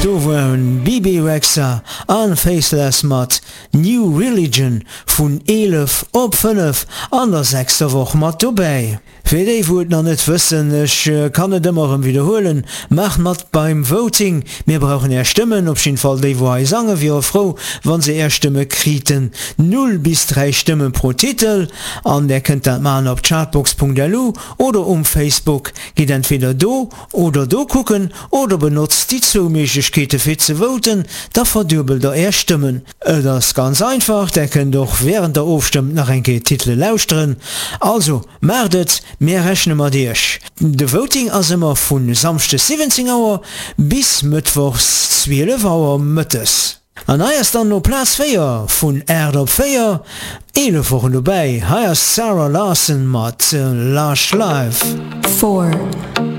Do waren Bebe Rexha an Faithless mat New Religion vun 11 op 5 an der sechster Woch mat dobäi. Fir déi wou et nach net wëssen, ech kann et ëmmer erëm widderhuelen, maacht mat beim Voting, mir brauchen är Stëmmen, op jidden Fall déi wou hei sangen wiere frou wann se är Stëmme kriten, 0 bis 3 Stëmme pro Titel, an där kënnt dat maachen op chartbox.lu oder um Facebook. Gitt entweder do oder do kucken oder benotzt déi zwou Méiglechkeete fir ze voten, da verduebelt der är Stëmmen. Et ass ganz einfach, där kënnt och während der ofstëmmt nach eng Kéier d'Titele lauschteren. Also maacht et, mär rechne mat iech. De Voting ass ëmmer vu Samschdes 17 Auer bis Mëttwochs 12 Auer mëttes. An hei ass dann no Plaz 4 vun 8 op 4, 11 Wochen dobäi, hei ass d'Zara Larsson mat Lush Life. 4.